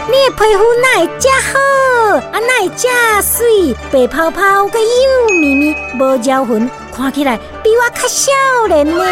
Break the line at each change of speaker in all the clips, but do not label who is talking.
你的皮膚哪會遮好？啊，哪會遮媠？白泡泡，閣幼綿綿，無皺痕，看起來比我較少年呢。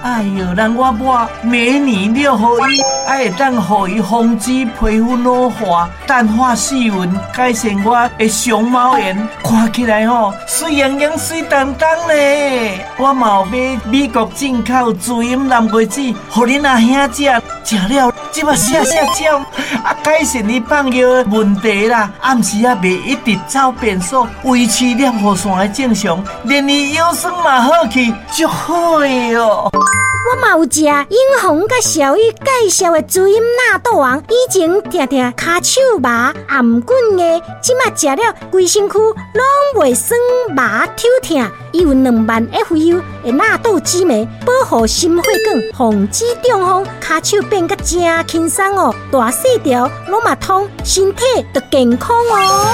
哎喲，人我抹美女六合一，啊會當予伊防止皮膚老化、淡化細紋，改善我的熊貓顏，看起來吼媠盈盈、媠當當咧。我嘛有買美國進口滋陰南瓜子，予恁阿兄食，食了這馬寫寫照，啊改善伊放尿的問題啦。暗時啊袂一直走便所，維持尿線的正常，連伊腰酸嘛好去，足好的哦。
我嘛有食英紅佮小玉介紹的滋陰納豆王，以前定定跤手麻、頷頸的，這馬食了規身軀攏袂酸麻抽疼。伊有2萬 FU 的納豆激酶，保護心血管，防止中風，跤手變甲真輕鬆哦，大細條攏嘛通，身體就健康哦。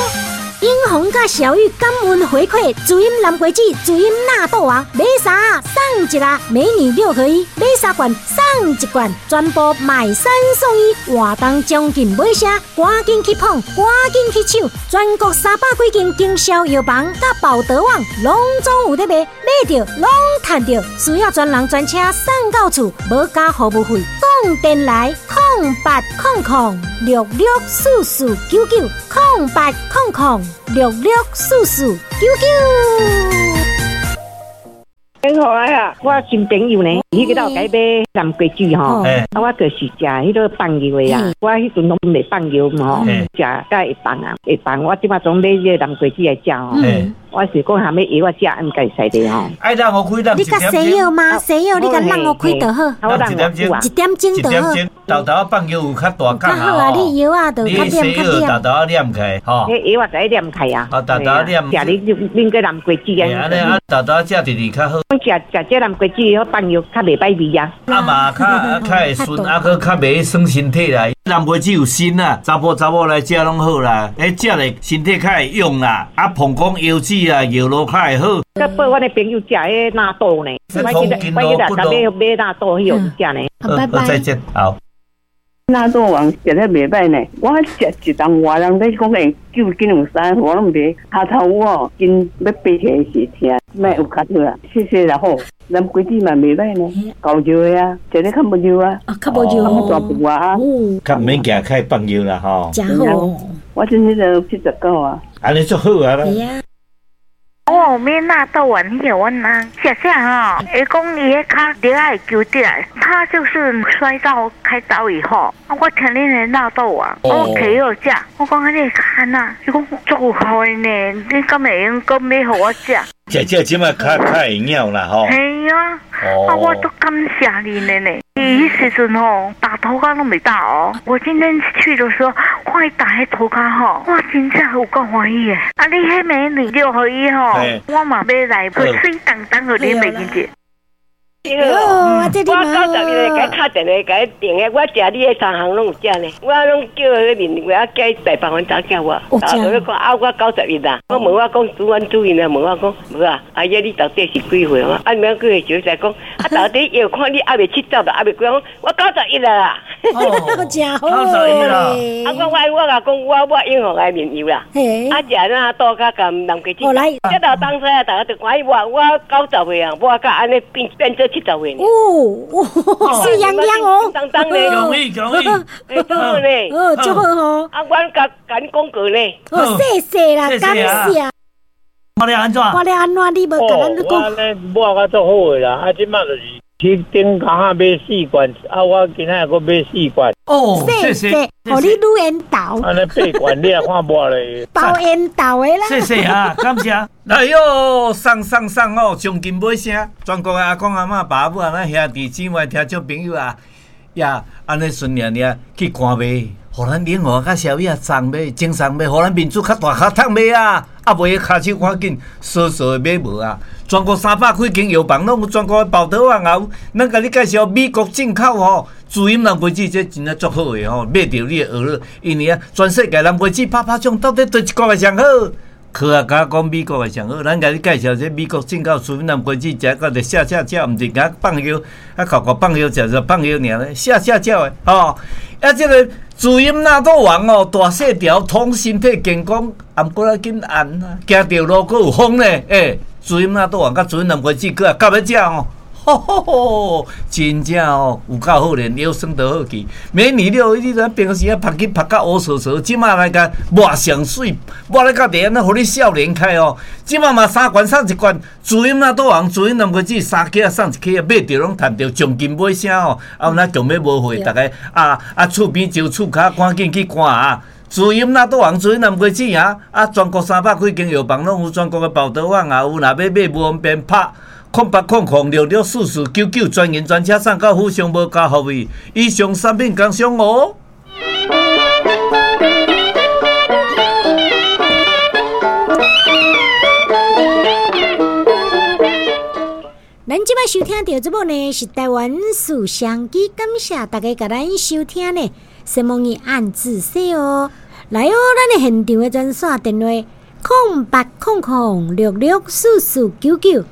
英紅佮小玉感恩回饋，滋陰南瓜子、滋陰納豆王，買三送一啦，美女六合一，買三罐送一罐，全部買三送一，活動將近尾聲，趕緊去捧，趕緊去搶，全國300幾間經銷藥房佮寶德網攏總有咧賣，買著攏趁著，需要專人專車送到厝，無加服務費，講電來0800664499，0800664499。
很好啊！我新朋友呢，彼個有共買南瓜子吼，啊，我就是食彼個放藥的啊。我彼陣攏袂放藥嘛吼，食才會放啊，會放。我這擺總買這個南瓜子來食吼。我是講啥物藥我食，毋該使的吼。
愛讓予開，
你較西藥嗎？西藥你共讓予開就好。
一點鐘，
一點鐘就好。
豆豆放藥有較大工
較好啊！你藥仔就較黏較黏。
豆豆黏起來吼。
彼藥仔就愛黏起啊。
啊，豆豆黏。
食你啉過南瓜子啊？
按呢啊，豆豆食直直較好。
食食這南瓜子，放藥較袂歹味啊。
啊嘛，較較會順，啊閣較袂傷身體啦。南瓜子有鋅啊，查埔查某來食攏好啦。彼食咧身體較會勇啦，啊膀胱腰子啊尿路較會好。
佮報阮的朋友食彼納豆呢，我記得我記得買買納豆彼個食呢。
好，拜拜。
再見，好。
納豆王食了袂歹呢，我食一冬外人咧講會救緊有三，我攏袂跤頭哦，筋欲爬起來時疼，莫有較好啊，謝謝啦好。南瓜子嘛袂歹呢，夠熱的啊，食咧較無熱啊，
較無熱，
較大步啊，
較毋免行較會放尿啦吼。
誠好，
我這彼個79啊，
按呢足好啊啦。
我有買納豆丸，彼個阮翁食食吼，伊講伊彼跤著愛揪起來，他就是摔到開刀以後，我聽恁的納豆丸，我提予食，我講啊你跤按怎？伊講足有效的呢，你敢會用閣買予我食？
食食這馬較較會曉啦吼。
嘿啊，啊我足感謝你的呢。伊彼時陣吼，打塗跤攏袂打哦。我今天去的時候，看伊打彼塗跤吼，我真正有夠歡喜的。啊，你彼美女六合一吼，我嘛買來，媠當當予你袂記得。
哦，這
我91個，共敲電話，共訂的，我食你的三項攏有食呢。我攏叫彼面，我叫大部分查某囝我，啊，我講啊，我九十一啦。我問我講，主阮主任啊，問我講，無啊，阿姨你到底是幾歲？啊，你毋幾歲時才講，啊，到底藥看你猶未70啦，猶未幾，我九十一啦。
真好。
91啦。
啊，我我我共講，我我永和的面油啦。啊，食納豆佮含南瓜子。這老東西啊，逐家都歡喜我，我90歲啊，我佮按呢變變做70歲。
哦，媠洋洋哦，
當當咧，
恭喜恭喜，
欸，好呢，
哦，足好吼。
啊，阮共共你廣告呢。
哦，謝謝啦，感謝。
看了按怎？
看了按怎？你無共咱講。
我按呢抹甲足好的啦，啊，這擺就是去頂工仔買四罐，啊，我今仔閣買四罐。
哦，
謝謝，予你愈緣投。
按呢八罐你來看抹咧。
包緣投的啦。
謝謝啊，感謝。來喲，送送送哦，將近尾聲，全國的阿公阿嬤、爸母啊，咱兄弟姊妹、聽眾朋友啊，呀，按呢順爾爾去看賣，予咱永和佮小米啊送買，精送買，予咱面子較大較通買啊！啊，袂跤手趕緊，趖趖的買無啊！全國300幾間藥房攏有，全國的寶特網也有。咱共你介紹美國進口吼，滋陰南瓜子，這真正足好的吼，買著你會學了，因為啊，全世界南瓜子拍拍獎，到底佗一國的上好？科學家講美國的上好，咱共你介紹這美國進口滋陰南瓜子，食到就下下叫，毋是共放藥，啊，敎敎放藥食就放藥爾咧，下下叫的吼。啊，這个滋陰納豆丸哦，大細條，通身體健康，毋過啊緊按啊，行著路閣有風咧，欸，滋陰納豆丸佮滋陰南瓜子，閣也夾欲食哦。吼吼吼！真正哦，有夠好咧，腰酸得好去。美女了，你知平時啊，曝去曝甲烏趖趖，這馬來共抹上媠，抹咧到底按怎，予你少年開哦。這馬嘛三罐送一罐，滋陰納豆丸，滋陰南瓜子三克送一克，買著攏趁著將金買聲哦。啊，有哪強欲無貨，逐家啊啊，厝邊石厝跤，趕緊去看啊！滋陰納豆丸，滋陰南瓜子啊！啊，全國300幾間藥房攏有，全國的寶德網也有，若欲買無方便拍。0800664499，專人專車送到府上，無加服費。以上產品工商哦。
咱這擺收聽著這部呢，是台灣事商機，感謝大家共咱收聽呢。什麼語按字說哦，來哦，咱的現場的專線電話：0800664499。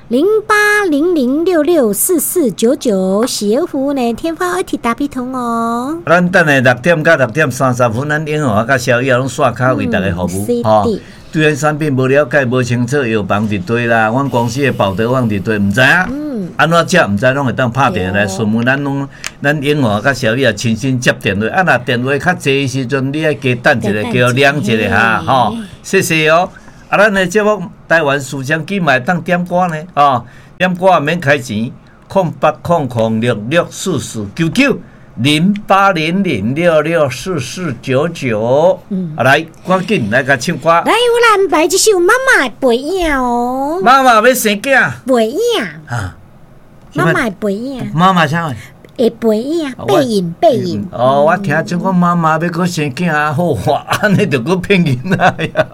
0800664499，喜兒服務呢，天發 IT 打必通哦。
咱等下6點到6點30分，咱英豪佮小葉攏線跤為大家服務。吼，對咱產品無了解、無清楚，藥房佇佗啦，阮公司的寶德網佇佗，毋知影。按怎食毋知，攏會當拍電話來詢問。咱攏，咱英豪佮小葉親身接電話。啊，若電話較濟時陣，你愛加等一下，叫兩一下哈，吼，謝謝哦。啊，咱的節目台灣事商機嘛會當點歌呢，哦，點歌也免開錢，0800664499，0800664499。嗯，啊來，趕緊來共唱歌。
來，我來安排這首《媽媽的背影》哦。
媽媽欲生囝。
背影。啊。媽媽的背影。
媽媽啥？
會背影，背影，背影。
哦，我聽講媽媽欲閣生囝，好哇，按呢就閣騙囡仔呀。